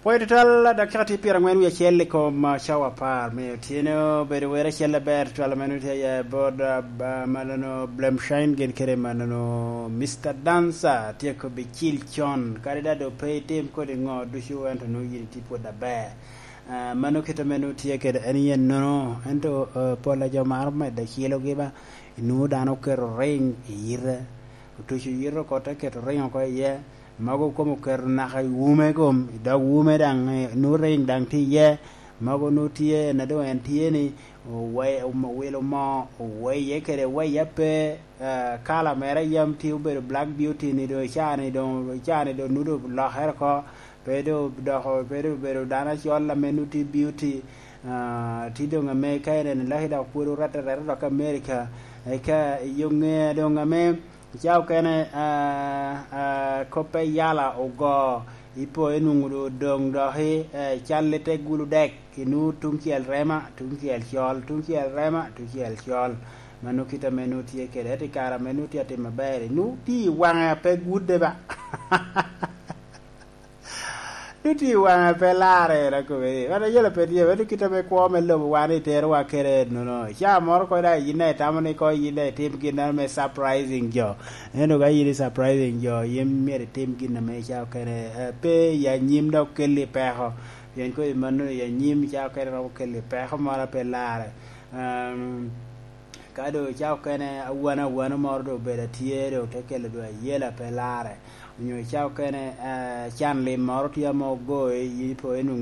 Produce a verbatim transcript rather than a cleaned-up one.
Pwod tutwal, dakika tye pyerangwen wie acel i kom, ah, cawa apar me otyeno. Bedo wer acel aber tutwal ame nwoŋo tye aye bot, ah, ba-, manono Blemshine gin kede manono Mister Dancer. Tyeko bicil con, kadi daŋ doŋ pe itim kodi ŋo ducu, ento nwoŋo yin itye pwod aber. Ah, mano kit ame nwoŋo tye kede en yen nono, ento, ah, pol a jo maro medo cilogi ba, inwoŋo dano oketo ring i yite, otuco yite oko te keto ring oko iye, mogo kom oketo naka i wume kom, i dog wume daŋ, eh, nwoŋo ring daŋ tye iye, mogo nwoŋo tye, na doŋ en tye ni, owe-, owilo moo, oweye kede weye ape, eh, kala mere a yam tye obedo black beauty ni doŋ, icaa ni doŋ, icaa ni doŋ nudo olokere oko, pe doŋ doko, pe doŋ obedo dano acol ame nwoŋo tye beauty, ah, tye doŋ ame ka ineno laki dok pwod orette areta dok America, eka i yo ŋe doŋ ame Ca okene, ah, ah, kop pe yala ogo, ipo inwoŋo doŋ doŋ doki, eh, cal i te gulu dek, inwoŋo tuŋ cel rema, tuŋ cel col, tuŋ cel rema, tuŋ cel col. Mano kit ame nwoŋo tye kede, ento i kare ame nwoŋo tye atim aber, inwoŋo tye i waŋe a pe gudde ba. Nwoŋo tye i waŋe pe larre, en akobo ni, wan ayela pe tye, ento kit ame kwo me lobo wan iterowa kede nono. Ca moro kono daŋ yin daŋ itamo ni koŋ yin daŋ itim gin ame surprising jo. Ento ka yin i surprising jo, yin myero itim gin ame ca okene, eh, pe i anyim dok kelli peko. Pien kodi mano i anyim ca okene romo kelli peko moro a pe larre. Ehm, Ka doŋ ca okene awano awano moro doŋ obedo atye, doŋ te kelo doŋ ayela pe larre. Onyo ca okene, eh, can lim moro tye ame ogoyi, yin ipo inwoŋo